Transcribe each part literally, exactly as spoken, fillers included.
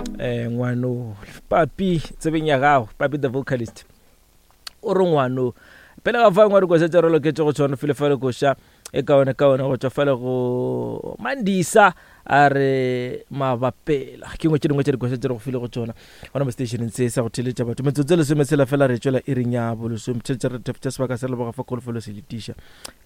um ngwano papi tsebeng ya gago papi the vocalist o re ngwano pele ga fa ngwa dikoša tša re loketše go tshwana fele fale koša e kaone kaone go tšwa fale go mandisa a re mabapela ke ngwe tše dingwe tša dikoša tše re go file go tšona gona mo stationeng se sa go theletša batho metsotso e lesometshela fela re tšwela iring ya bolesome theletša re tša sebaka se leboga fa kholofelo se letiša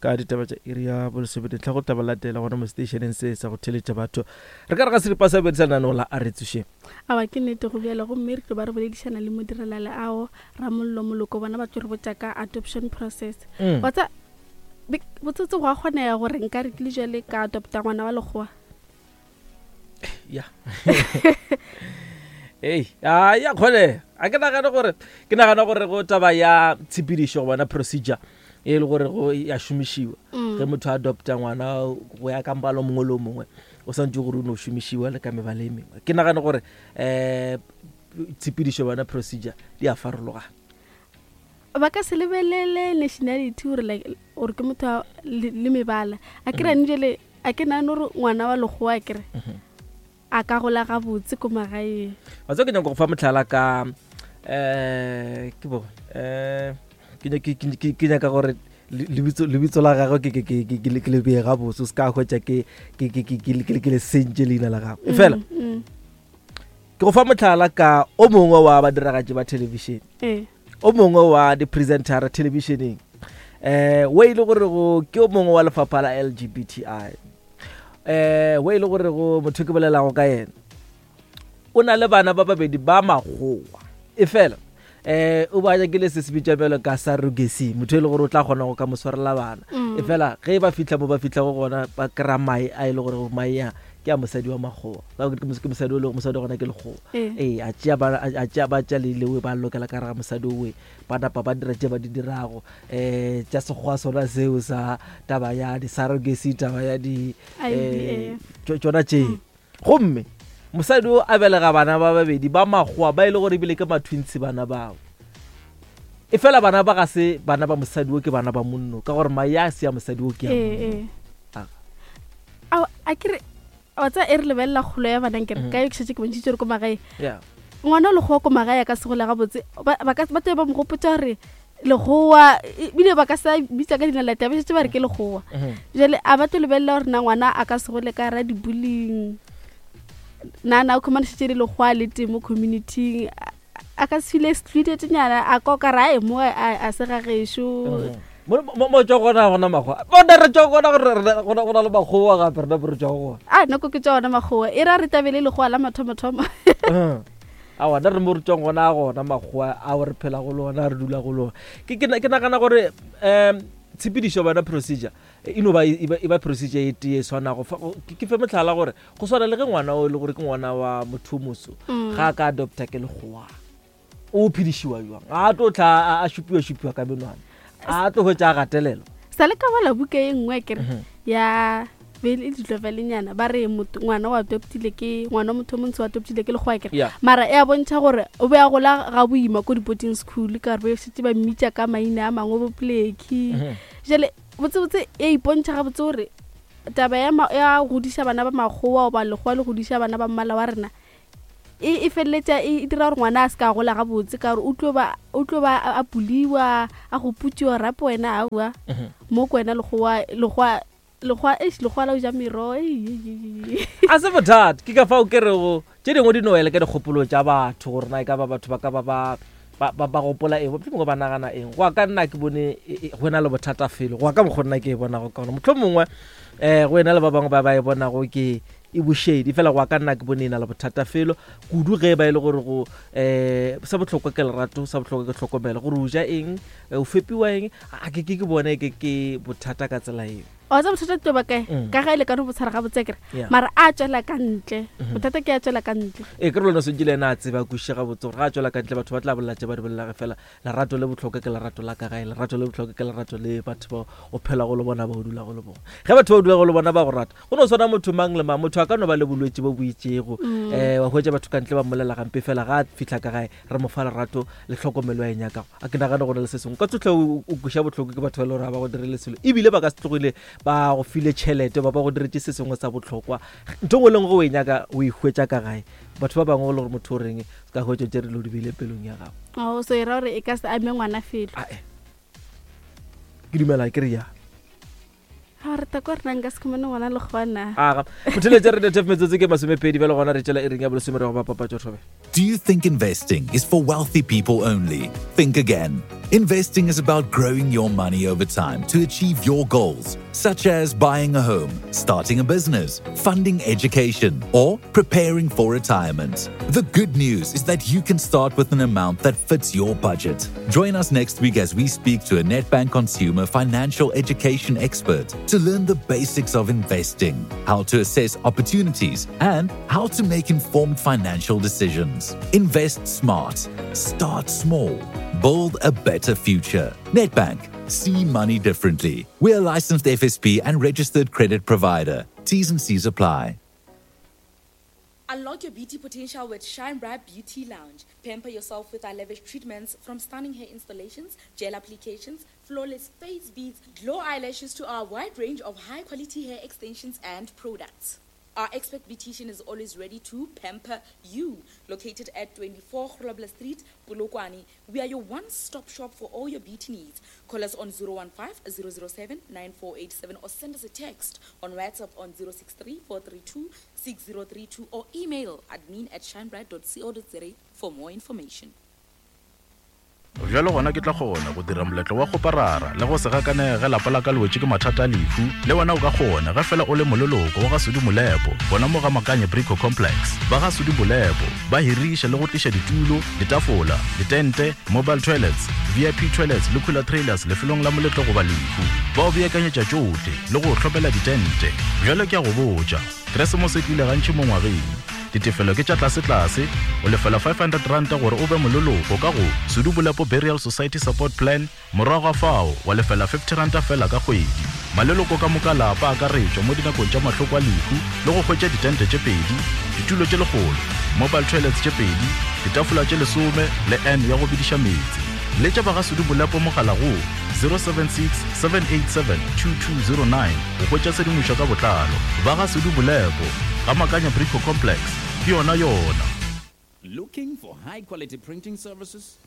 ka ditaba tša iri ya bolesome dintlha go taba latela gona mo stationeng se sa go theletša batho re ka re ga seripa sa bedi sa lenaneo la a re tsošeng awa ke nnete go bjalo gomme re tlo ba re boledišana le modirelale ao ramollo moloko bona ba tlo re botša ka adoption process Mm. wa tsa be- botsotse go a kgonega gore nka re ke le jale ka adopta ngwana wa lekgowa ya ei a ya kgone a ke nagane gore ke nagana gore go taba ya tshepedišo go bona procedure e le gore go ya šomišiwa Mm. ge motho a adopta ngwana go ya ka mbalo mongwe le o mongwe o santse gore o no šomišiwa le ka mebala e mengwe ke nagane gore um tshepedišo bona procedure di a farologana ba ka se lebelele nationality gore like gore ke motho wa- le le mebala a ke rane jale a ke nagane gore ngwana wa lekgowa a kere a ka gola gabotse ko magaeng wa tseba ke nyaka go fa motlhala ka um ke bo um ke nya- ke- ke- ke- ke nyaka gore le- lebitso lebitso la gagwe ke- ke- ke ke- ke le- ke le bee gabotse o se ka hwetša ke ke- ke- ke- ke le- ke le- ke le sentše leina la gagwe e fela Mm, mm. ke go fa motlhala ka o mongwe wa badiragatši ba thelebišene ee o mongwe wa di-presentera thelebišeneng um o e le gore go ke o mongwe wa lefapha la l g b t i um o e le gore go motho ke bolelago ka yena o na le bana ba babedi ba makgowa e fela um o ba nyakile se se bitša bjalo ka surrogacy motho e le gore o tla kgona go ka mo swarela bana Mm. e fela ge ba fitlha mo ba fitlha go gona ba kry-a mae a e le gore mae a ke a mosadi wa makgowa Ka gore ke mos- ke mosadi o le mosadi wa gona ke lekgowa Ee. ee a tšea ba- a- a tšea ba tšea leilewe ba lokela ka gare ga mosadi owe ba napa ba dira tše ba di dirago um tša sekgowa sona seo sa taba ya di-surrogacy taba ya di I V eh, F. tšo- tšona tšeo gomme mosadi o a belega bana ba babedi ba makgowa ba e le gore ebile ke matwintshi bana bao e fela bana ba ga se bana ba mosadi o ke bana ba monno ka gore mae a se ya mosadi o ke ya ee monno. ee Ah. Ao, a kere wa tsa e re lebelela kgolo ya bana nkere Mhm. ka yo ke šetse ke bontšhitse gore ko magae Yeah. ngwana o lekgowa ko magae a ka se gole gabotse ba ba ka- ba tlabe ba mo gopotsa gore lekgowa ebile ba ka sa bitsa ka leina la teng ba šetse ba re ke lekgowa Mhm. jale a ba tlo lebelela gore na ngwana a ka se gole ka ra di-bullying na na o khumana šetse le lekgowa le teng mo communityng A- a ka se feel excluded nyana a ka o ka re ae mo a a se gagešo Mhm. Mo mo- mo tswa gona gona makgowa bona re tswa gona gore re- go na- go na le makgowa gape rena bo re tswa gona a nako ke tša ona makgowa e ra re tabele lekgowa la mathomothomo awa nna re mo re tswang gona a gona makgowa ao re phela go le ona re dula go le ona ke ke na- ke nagana gore um tshepedišo bona procedure e no ba e ba- e ba procedure e tee e swanago Fa- go- ke ke fe motlhala gore go swana le ge ngwana o e le gore ke ngwana wa motho o moso Mm. ga a ka adopta ke lekgowa o phedišiwa jwang a tlo tla a- a šupiwa-šupiwa ka menwana a tlo hwetša a gatelelwa sa le ka bala buka e nngwe kere Mhm. ya be le ditlovelenyana ba re motho- ngwana o adoptile ke ngwana wa motho o montsho o adoptile ke lekgowa kere Yeah. mara e a bontšha gore o be a gola ga boima ko di-boarding school ka gore be šetse ba mmitša ka maina a mangwe bo pleki Mhm. jale botsebotse e ipontšha gabotse gore taba ya ma- ya godiša bana ba makgowa goba lekgowa le godiša bana ba mmala wa rena e e feleletša e e dira gore ngwana a se ka gola gabotse ka gore o tlo ba o tlo ba a- a puliwa a go putsiwa rape wena aowa Mhm. mo ko wena lekgowa lekgowa lekgowa eish, lekgowa la o ja merogo ei, ei, ei, ei. a se bothata ke ka fao ke rego tše dingwe di no wela ka dikgopolo tša batho gore na e ka ba batho ba ka ba ba ba ba- ba gopola eng mohlomongwe ba nagana eng go ya ka nna ke bone e- e- go na le bothata felo go ya ka mokgwa nna ke e bonago ka gona motlho mongwe um go ena le ba bangwe ba ba e bonago ke e bošedi fela go ya ka nna ke bone e na le bothata felo kudu ge ba e le gore go um sa bohlokwa ke lerato sa bohlokwa ke tlhokomelo gore o ja eng eh, o fepiwa eng a ke ke ke bone ke ke bothata ka tsela eo wa tsa bothata tlo ba kae Mm. ka ga e lekane bo tshwara gabotse kere Yeah. mara a tswela ka ntle Mhm. bothata ke a tswela ka ntle ee ke re lone swantse le ena a tseba kwešiše gabotse gore ga a tswela ka ntle batho ba tla bolela tše ba di bolelage fela lerato le bohlokwa ke lerato la ka gae lerato le bohlokwa ke lerato le batho ba o phelago le bona ba o dulago le bona ge batho ba o dulago le bona ba go rata go no swana motho mang le mang motho a ka no ba le bolwetse bo bo itšego Mm. um wa hwetša batho ka ntle ba mmolela gampe fela ga a fitlha ka gae re mo fa lerato le tlhokomelo a e nyakago a ke nagane go na le se sengwe ka tsotlhe o o kweša bohloko ke batho ba e le gore ga ba go direle selo ebile ba ka se tlogile ba go file tšhelete ba ba go diretše se sengwe sa bohlokwa ntho ngwe le ngwe ge o e nyaka o e hwetša ka gae Batho ba bangwe o le gore motho o reng se ka hwetša tše re lo di beile pelong ya gago. Oh, so e ra gore e ka se ame ngwana felo. Ae, ke dumela ke re ya. Ga re ta kwa rena nka se khumane ngwana le gona. Aga motheletše re tef metsotso ke masomepedi bjale gona re tšela e reng ya bolesome re go ba papatšo thobe. Do you think investing is for wealthy people only? Think again. Investing is about growing your money over time to achieve your goals, such as buying a home, starting a business, funding education, or preparing for retirement. The good news is that you can start with an amount that fits your budget. Join us next week as we speak to a Nedbank consumer financial education expert to learn the basics of investing, how to assess opportunities, and how to make informed financial decisions. Invest smart. Start small. Build a better future. Nedbank. See money differently. We're a licensed F S P and registered credit provider. T's and C's apply. Unlock your beauty potential with Shine Bright Beauty Lounge. Pamper yourself with our lavish treatments, from stunning hair installations, gel applications, flawless face beads, glow eyelashes to our wide range of high-quality hair extensions and products. Our expert beautician is always ready to pamper you. Located at twenty-four Grobler Street, Polokwane, we are your one-stop shop for all your beauty needs. Call us on zero one five, zero zero seven, nine four eight seven or send us a text on WhatsApp on zero six three, four three two, six zero three two or email admin at shinebright dot co dot za for more information. Bjalo gona ke tla kgona go dira moletlo wa go parara le go se gakanege ge lapa la ka le wetše ke mathata a lehu. Le wena o ka kgona ge fela o le moleloko wa ga Sudi Molepo, bona mo ga Makanye Brico Complex. Ba ga Sudi Molepo ba hiriša le go tliša ditulo, ditafola, ditente, mobile toilets, V I P toilets le cooler trailers lefelong la moletlo goba lehu. Ba o beakanyetša tšohle le go hlopela ditente. Bjalo ke a go botša, Keresemose e tlile gantši mo ngwageng. Ditefelo ke tša tlase-tlase, o lefela five hundred rand gore o be moleloko ka go Sudi Molepo Burial Society Support Plan, morago ga fao wa lefela fifty rand fela ka kgwedi. Maleloko ka moka lapa a akaretšwa mo dinakong tša mahloko a lehu le go hwetša ditente tše pedi, ditulo tše lekgolo, mobile toilets tše pedi, ditafola tše lesome le N ya go bidiša meetse. Letša ba ga Sudi Molepo mogala go zero seven six, seven eight seven, two two zero nine go hwetša tshedimošo ka botlalo. Ba ga Sudi Molepo ga Makanya Brico Complex, ke yona yona. Looking for high quality printing services?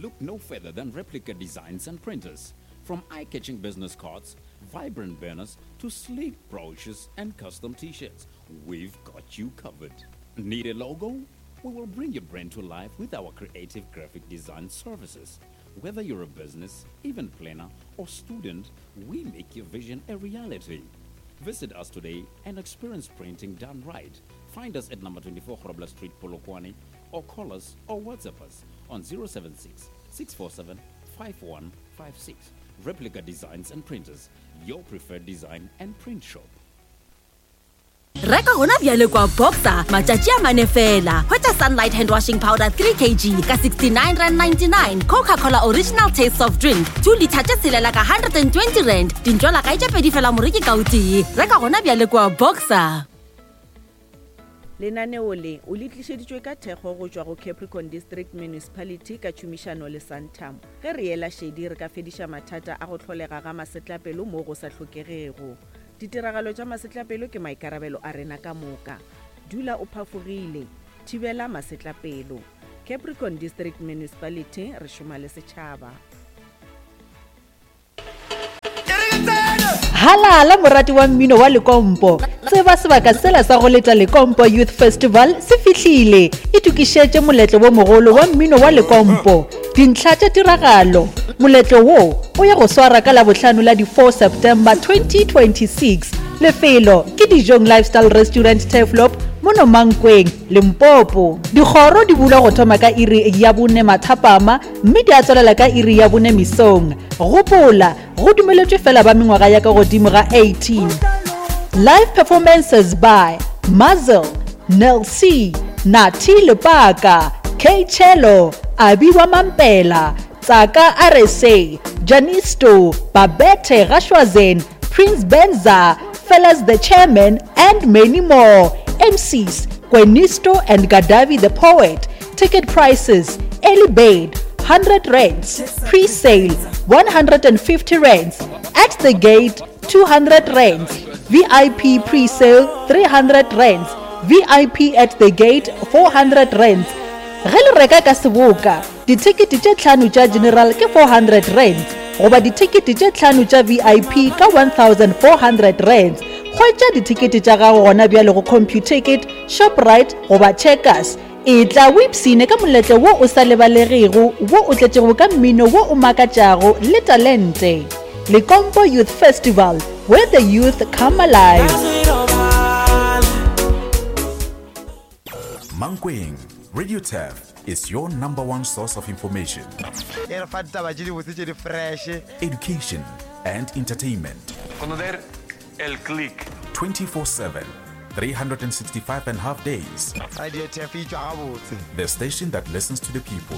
Look no further than Replica Designs and Printers. From eye-catching business cards, vibrant banners, to sleek brochures and custom t-shirts, we've got you covered. Need a logo? We will bring your brand to life with our creative graphic design services. Whether you're a business, event planner, or student, we make your vision a reality. Visit us today and experience printing done right. Find us at number twenty-four Grobler Street, Polokwane, or call us or WhatsApp us on zero seven six, six four seven, five one five six. Replica Designs and Printers, your preferred design and print shop. Reka gona bjale kwa Boxer matšatši a mane fela. Hwetša Sunlight hand washing powder three kilograms ka sixty-nine rand ninety-nine, Coca-Cola original taste soft drink two litre tše tshelela ka hundred and twenty rand, dintšwala kae tše pedi fela moreki ka o tee. Reka gona bjale kwa Boxer. Lenaneo le o le tlišeditšwe ka thekgo go tšwa go Capricorn District Municipality ka tšhomišano le Santam. Ge re ela šedi re ka fediša mathata a go hlolega ga masetlapelo mo go sa hlokegego. Ditiragalo tša masetlapelo ke maikarabelo a rena ka moka. Dula o phafogile, thibela masetlapelo. Capricorn District Municipality, re šoma le setšhaba. Halala morati wa mmino wa Lekompo. Tseba sebaka sela sa go leta Lekompo Youth Festival se fihlile. Itokišetše moletlo wo mogolo wa mmino wa Lekompo. Dintlha tša tiragalo. Moletlo wo o ya go swara ka Labohlano la di four September twenty twenty-six. Lefelo ke Dijong Lifestyle Restaurant Turfloop mono Mankweng, Limpopo. Dikgoro di bulwa go thoma ka iri ya bone mathapama mme di a tswelela ka iri ya bone mesong. Gopola, go dumeletšwe fela ba mengwaga ya ka godimo ga eighteen. Live performances by Mazel, Nel C, Nati Lepaka, K Cello, Abiwa Mampela, Tsaka R S A, Janisto, Babette Rashwazen, Prince Benza, Fellas the Chairman, and many more. M Cs, Gwenisto and Gadavi the Poet. Ticket prices, early bird, one hundred rands, pre-sale, one hundred and fifty rands, at the gate, two hundred rands, V I P pre-sale, three hundred rands. V I P at the gate four hundred rands. Ge le reka ka seboka, dithekete tše tlhano tša general ke four hundred rands goba dithekete tše tlhano tša V I P ka one thousand four hundred rands. Hwetša dithekete tša gago gona bjale go Computicket, Shoprite goba Checkers. Etla o ipshine ka moletlo wo o sa lebalegego wo o tletšego ka mmino wo o makatšago le talente. Lekompo Youth Festival, where the youth come alive. Mankweng, Radio Turf is your number one source of information, E re fa ditaba tše dibotse tše di fresh, education, and entertainment. Conocer el click. twenty-four seven, three hundred sixty-five and a half days. Radio Turf e tšwa gabotse. The station that listens to the people.